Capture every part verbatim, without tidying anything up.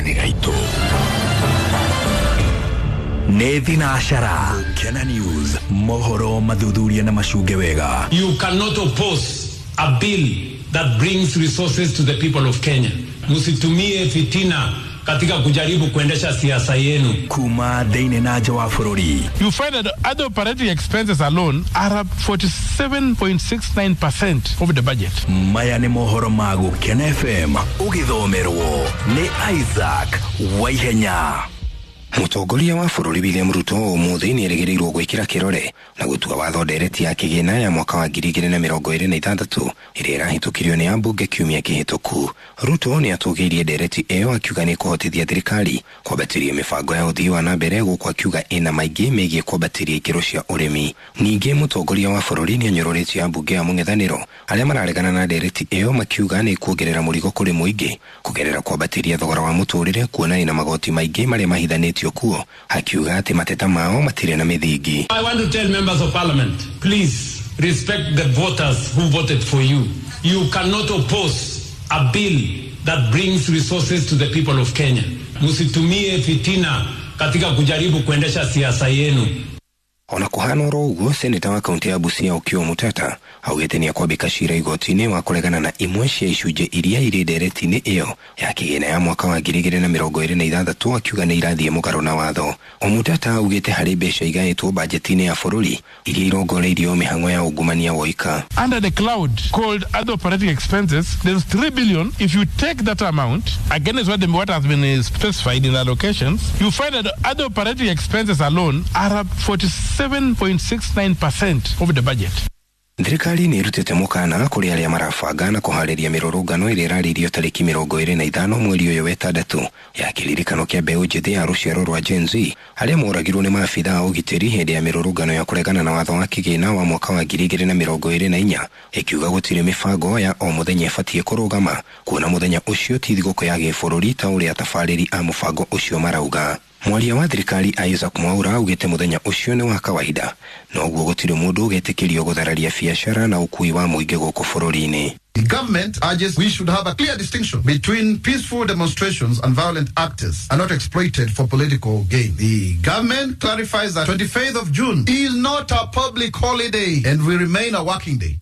Gaka nĩ gaitũ nĩ thinacara. Gũkena News, mohoro mathuthuria na macunge wega. You cannot oppose a bill that brings resources to the people of Kenya. Msitumie fitina katika kujaribu kuendesha siasa yenu. Kuma thĩinĩ na nja wa bũrũri. You find that other operating expenses alone are up forty-seven point six nine percent of the budget. Maya nĩ mohoro ma Gũkena F M, ũgĩthomerwo nĩ Isaac Waihenya. Mũtongoria wa bũrũri William Ruto ũmũthĩ nĩ erĩgĩrĩirwo gwĩkĩra kĩrore na gũtua watho ndereti ya kĩgĩna ya mwaka wa ngiri igĩrĩ na mĩrongo ĩrĩ na ithathatũ ĩrĩa ĩrahĩtũkirio nĩ ambunge kiumia kĩhĩtũku. Ruto nĩ atũgĩirie ndereti ĩyo, akiuga nĩ kũhotithia thirikari kwambatĩria mĩbango ya ũthii wa na mbere, gũkũ akiuga ĩna maingĩ megiĩ kwambatĩria ikĩro cia ũrĩmi. Ningĩ mũtongoria wa bũrũri nĩ anyũrũrĩtie ambunge a mũng'ethanĩro arĩa mararegana na ndereti ĩyo, makiuga nĩ kuongerera mũrigo kũrĩ mũingĩ kũgerera kwambatĩria thogora wa mũtũrĩre, kuona ĩna magoti maingĩ marĩa mahithanĩtio kuo, akiuga atĩ mateta mao matirĩ na mĩthingi. I want to tell members of parliament, please respect the voters who voted for you. You cannot oppose a bill that brings resources to the people of Kenya. Msitumie fitina katika kujaribu kuendesha siasa yenu. Ona kuhana oro ũguo, seneta wa kaunti ya Busia Okiya Omtatah augĩte nĩ akwambĩka cira igoti-inĩ wa kũregana na imwe cia icunjĩ iria irĩ ndereti-inĩ ĩyo ya kĩgĩna ya mwaka wa ngiri igĩrĩ na mĩrongo ĩrĩ na ithathatũ, akiuga nĩ irathiĩ mũgarũ na watho. Omtatah augĩte harĩ mbeca igaĩtwo bajeti-inĩ ya bũrũri iria irongoreirio mĩhang'o ya ungumania woika. Under the cloud called other operating expenses, there's three billion. If you take that amount against what, the, what has been uh, specified in the allocations, you find that other operating expenses alone are up forty-seven point six nine percent of the budget. Thirikari nĩ ĩrutĩte mũkana kũrĩ arĩa marabanga na kũharĩria mĩrũrũngano ĩrĩa ĩrarĩirio tarĩki mĩrongo ĩrĩ na ithano mweri ũyũ wa ĩtandatũ ya kĩririkano kĩa mbeũ njĩthĩ ya rũciaro rwa Gen Z arĩa moragirwo nĩ maabitha a ũgitĩri hĩndĩ ya mĩrũrũngano ya kũregana na watho wa kĩgĩna wa mwaka wa ngiri igĩrĩ na mĩrongo ĩrĩ na inya, ĩkiuga gũtirĩ mĩbango ya o mũthenya ĩbatiĩ kũrũgama, kuona mũthenya ũcio ti thigũkũ ya gĩbũrũri ta ũrĩa atabarĩri a mũbango ũcio marauga. Mwaria wa thirikari Isaac Mwaura augĩte mũthenya ũcio nĩ wa kawaida, noguo gũtirĩ mũndũ ũgetĩkĩrio gũthararia biacara na ũkui wa mũingĩ gũkũ bũrũri-inĩ. The government urges we should have a clear distinction between peaceful demonstrations and violent actors are not exploited for political gain. The government clarifies that twenty-fifth of June is not a public holiday and will remain a working day.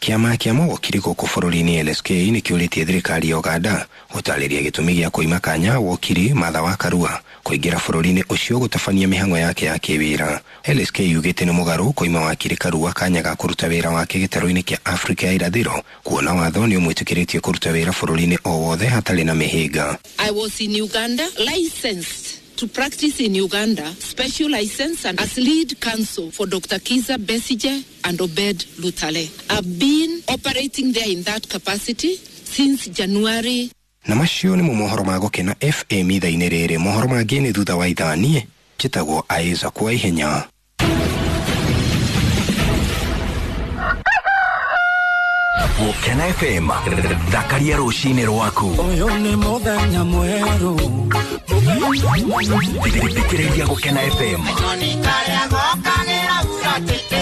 Kĩama kĩa mawokiri gũkũ bũrũri-inĩ L S K nĩ kĩũrĩtie thirikari ya Uganda gũtarĩria gĩtũmi gĩa kũima kanya wokiri Martha wa Karua kũingĩra bũrũri-inĩ ũcio gũtabania mĩhang'o yake ya kĩwĩra. L S K yugĩte nĩ mũgarũ kũima wakiri Karua kanya ga kũruta wĩra wake gĩtarũ-inĩ kĩa Afrika ya irathĩro, kuona watho nĩ ũmwĩtĩkĩrĩtie kũruta wĩra bũrũri-inĩ o wothe hatarĩ na mĩhĩnga. I was in Uganda, licensed to practice in Uganda, special license and as lead counsel for Doctor Kiza Besigye and Obed Lutale. I've been operating there in that capacity since January. Na macio nĩmo mohoro ma Gũkena F M ithaa-inĩ rĩrĩ. Mohoro mangĩ nĩ thutha wa ithaa. Niĩ njĩtagwo Isaac wa Ihenya. Gũkena F M, thakaria rũcinĩ rwaku. Ũyũ nĩ mũthenya mwerũ. Thikĩrĩria Gũkena F M.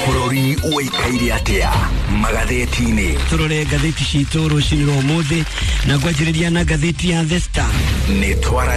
Bũrũri ũikaire atĩa magathĩti-inĩ? Tũrore ngathĩti citũ rũcinĩ rwa ũmũthĩ na ngwanjĩrĩria na ngathĩti ya The Star. Nĩ twaranĩrie.